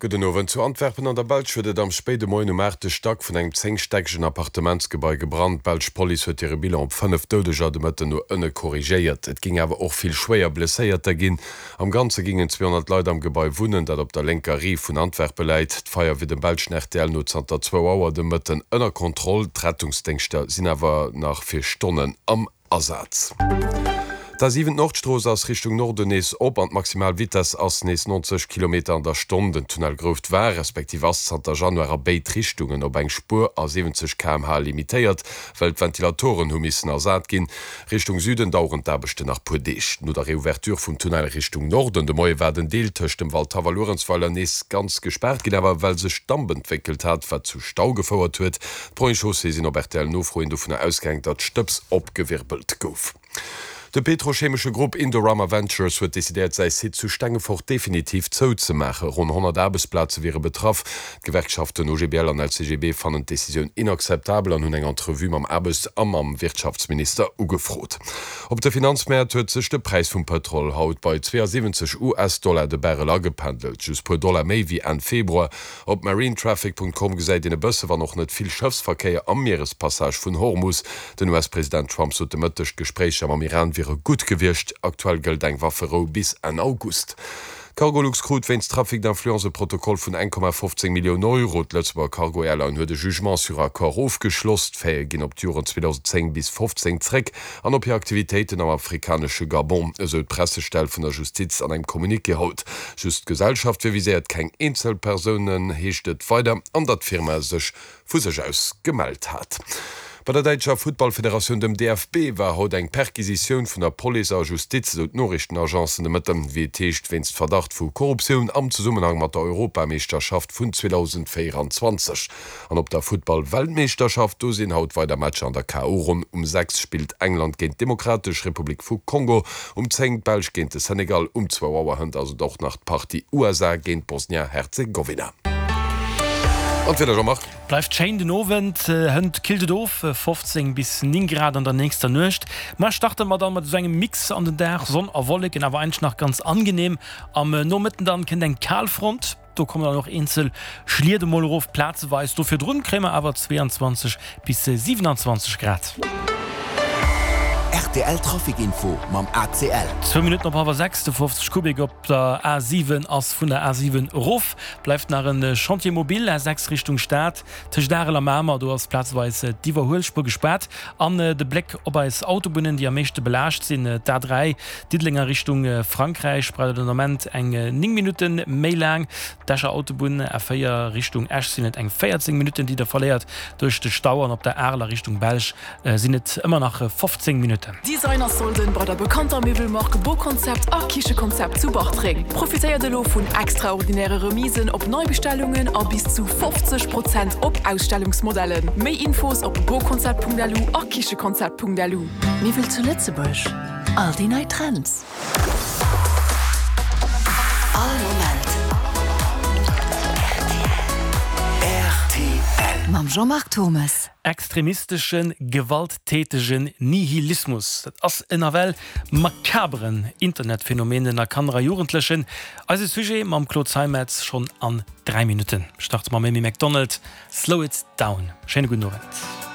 Gudden Owend. Zu Antwerpen an der Belsch huet et am spéide Moien um aachte Stack vun engem zéngstäckegen Appartementsgebai gebrannt. D'belsch Police huet hire Bilan op 5 Doudeger de Mëtten no ënne korrigéiert. Et géing awer och vill schwéier Blesséierter ginn. Am Ganze géingen 200 Leit am Gebai wunnen, dat op der lénker Rive vun Antwerpe läit. D'Feier wier dem belschen rtl no zanter zwou Auer de Mëtten ënner Kontroll. D'Rettungsdéngschter sinn awer nach fir Stonnen am Asaz. D'A7 Nordstrooss ass Richtung Norden nees op an d'maximal Vitess ass nees 90 Kilometer an der Stonn. Den Tunnel Grouft war, respektiv ass zanter Januar a béid Richtungen op eng Spuer a 70 km/h limitéiert, well d'Ventilatoren hu missen ersat ginn. Richtung Süden daueren d'Aarbechten nach puer Deeg. No der Reouverture vum Tunnel Richtung Norden de Moie war den Deel tëscht dem Waldhaff a Luerenzweiler nees ganz gespaart ginn, awer well sech Damp entwéckelt hat, wat zu Stau gefouert huet. D'Ponts et Chaussées sinn op RTL-Nofro hin dovunner ausgaang, datt Stëbs opgewirbelt gouf. De petrochemesche Grupp Indorama Ventures huet decidéiert, säi Site zu Stengefort definitiv zouzemaachen. Ronn 100 Aarbechtsplaze wiere betraff. D'Gewerkschaften OGBL an LCGB fannen d'Decisioun inakzeptabel an hunn eng Entrevue mam Aarbechts a mam Wirtschaftsminister ugefrot. Op de Finanzmäert huet sech de Präis vum Pëtrol haut bei 72 US-Dollar de Barrel agependelt, just puer Dollar méi wéi Enn Februar. Op marinetraffic.com gesäit een e bësse, wann och net vill, Schëffsverkéier am Mierespassage vun Hormus. Den US-President Trump sot de Mëtteg, d'Gespréicher mam Iran wiere gutt gewiescht. Aktuell gëllt eng Wafferou bis Enn August. D'Cargolux krut wéinst Trafic d'influence e Protokoll vun 1,15 Millioun Euro. D'Lëtzebuerger Cargo Airline huet e Jugement sur accord ofgeschloss. D'Faite ginn op d'Joren 2010 bis 15 zréck an op hir Aktivitéiten am afrikanesche Gabon, esou d'Pressestell vun der Justiz an engem Communiqué haut. Just d'Gesellschaft wier viséiert, keng eenzel Persounen, heescht et weider, an datt d'Firma sech vu sech aus gemellt hat. Bei der däitscher Futtballfederatioun, dem DFB, war haut eng Perquisitioun vun der Police a Justiz, esou d'Noriichtenagencen de Mëtten. Wéi et heescht, wéinst Verdacht vu Korruptioun am Zesummenhang mat der Europameeschterschaft vun 2024. An op der Futtball-Weltmeeschterschaft, do sinn haut weider Matcher an der KO-Ronn. Um 6 spillt England géint d'Demokratesch Republik vu Kongo, um 10 d'Belsch géint de Senegal, um zwou Auer hënt ass et och nach d'Partie USA géint Bosnia-Herzegowina. An d'Wieder, Jean-Marc? Bleift schéin den Owend, hënt killt et of, 15 bis 9 Grad an der nächster Nuecht. Muer starte mer dann mat esou engem Mix an den Dag, Sonn a Wolleken, awer eigentlech nach ganz angenehm. Am Nomëtten dann kënnt eng Kalfront. Do kommen dann och eenzel Schliet emol erof, plazeweis. Do virdrun kréie mer awer 22 bis 27 Grad. Rtl Trafic Info mam ACL. Zwou Minutten op hallwer 6, de 50 Kubik op der A7 ass vun der A7 erof. Bleift nach e Chantier mobile, A6 Richtung Stad, tëscht Arel a Mamer. Do ass plazeweis d'Iwwerhuelspuer gespaart. An de Bléck op eis Autobunnen, déi am meeschte belaascht sinn, d'A3 Diddeleng a Richtung Frankräich braucht et den Ament eng 9 Minutte méi laang. D'Escher Autobunn A4 Richtung Esch sinn et eng 14 Minutten, déi der verléiert duerch de Stau an op der Arel a Richtung Belsch sinn et ëmmer nach 15 Minutten. Designer-Solden bei der bekannter Miwwelmark Boconcept a Kichekonzept zu Bartreng. Profitéiert elo vun extraordinäre Remisen op Neibestellungen a bis zu 50 Prozent op Ausstellungsmodellen. Méi Infos op boconcept.lu a kichekonzept.lu. Miwwel zu Lëtzebuerg, all déi nei Trends. All Moment rtl. Mam Jean-Marc Thommes. Extremisteschen, gewalttätegen Nihilismus, dat ass en nawell makaberen Internetphänomen ënner Kanner a Jugendlechen. Eise Sujet mam Claude Zeimetz schonn an 3 Minutten. Starte mam Amy Macdonald, Slow It Down. Schéine gudden Owend.